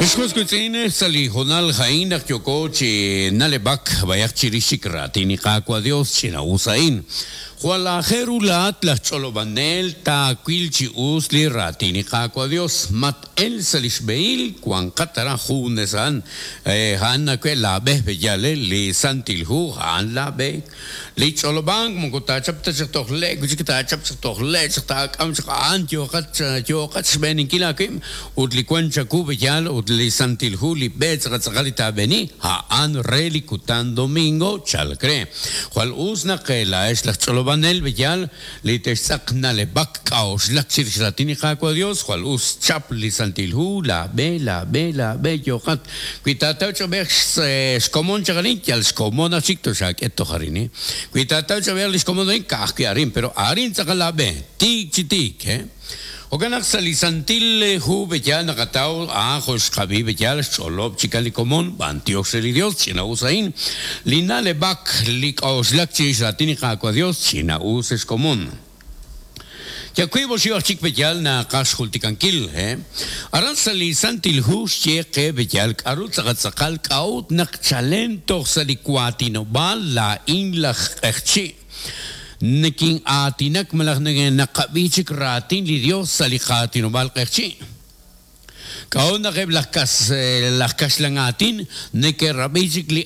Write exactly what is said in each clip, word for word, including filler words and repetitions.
Ex wiitz'in sa' li hoonal a'in naq yooko chi na'leb'ak b'ayaq chirix chik raatin li Qaawa' Dios ch'ina'us a'in. Jwal aajel ru laa'at laj ch'olob'anel taawil chi us li raatin li Qaawa' Dios. Mat-el sa' li xb'ehil wanqat aran junes a'an. A'an nawe' laab'e b'eyal li Santil Hu a'an laab'e. Li ch'olob'ank moko taachap ta chaq toj le' wi' chik taachap chaq toj le' chaq taak'am chaq a'an yooqat yooqat xb'eeninkil aawib' ut li wan chaku b'eyal ut li Santil Hu li b'e tz'aqal li taab'eni a'an re li kutan domingo chalk re. Jwal us naq laa'ex laj ch'olob'anel b'eyal li textz'aq na'leb'ak k'a'uxlak chirix raatin li Qaawa' Dios jwal us chap li Santil Hu laab'e laab'e laab'e yooqat wi taataw ch'ob'ej xkomon chaq arin yal xkomon aj chik toxaak'e toj arin wi taataw ch'ob'ej li xkomon arin ka'ajwi' arin pero arin tz'aqal laab'e tiik chi tiik eh Jo'kan sa' li Santil Hu b'eyal naqataw a'an jo' xqab'i b'eyal xch'olob' chikan li komon b'antiox re li Dios ch'ina'us a'in li na'leb'ak li k'a'uxlak chirix raatin li Qaawa' Dios ch'ina'us xkomon. Ya wiib' oxib' aj chik b'eyal naqaj xjultikankil eh aran sa' li Santil Hu xye qe b'eyal k'aru tz'aqal k'a'ut naq chalen toj sa' li waatinob'aal laa'in laj q'eqchi' nekin aatinak malaj naqab'i chik raatin li Dios sa' li qaatinob'aal q'eqchi'. K'a'ut naq eb' laj kas laj kaxlan aatin neke'rab'i chik li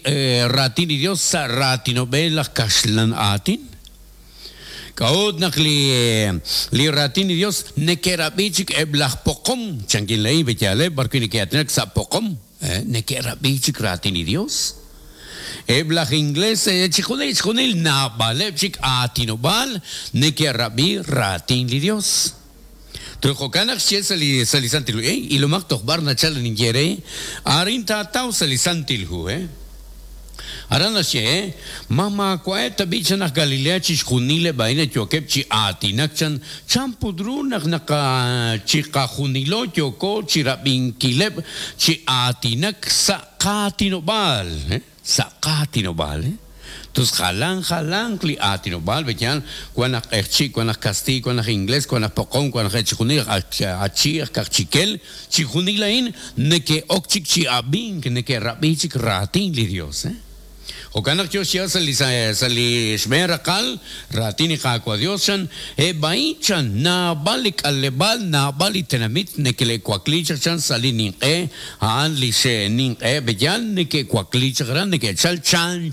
raatin li Dios sa' raatinob'el laj kaxlan aatin. K'a'ut naq li li raatin li Dios neke'rab'i chik eb' laj poqom chankin la'in b'eyaleb' b'arwi' neke'aatinak sa' poqom neke'rab'i chik raatin li Dios. Eb' laj inglés chijunil chijunil naab'aleb' chik aatinob'aal neke'rab'i raatin li Dios. Jo'kan naq xye sa' li sa' li Santil Hu eh ilomaq toj b'ar nachal ninye re arin taataw sa' li Santil Hu eh Aran naxye ma maawa'eb' tab'i chan aj Galilea chixjunileb' a'in yookeb' chi aatinak chan chan put ru naq naqa chiqajunilo yooko chirab'inkileb' chi aatinak sa' qaatinob'aal eh sa' qaatinob'aal eh Tus jalan jalan li aatinob'aal b'eyal wan aj q'eqchi' wan aj kastiy wan aj inglés wan aj poqom wan aj chijunil achi aj kaqchikel chijunil a'in neke'ok chik chi ab'ink neke'rab'i chik raatin li Dios eh Jo'kan naq yo xye sa' li sa' li xb'een raqal raatin li Qaawa' Dios chan eb' a'in chan naab'al li k'aleb'aal naab'al li tenamit neke'wakli chaq chan sa' li ninq'e a'an li xninq'e b'eyal neke'wakli chaq aran neke'chal chan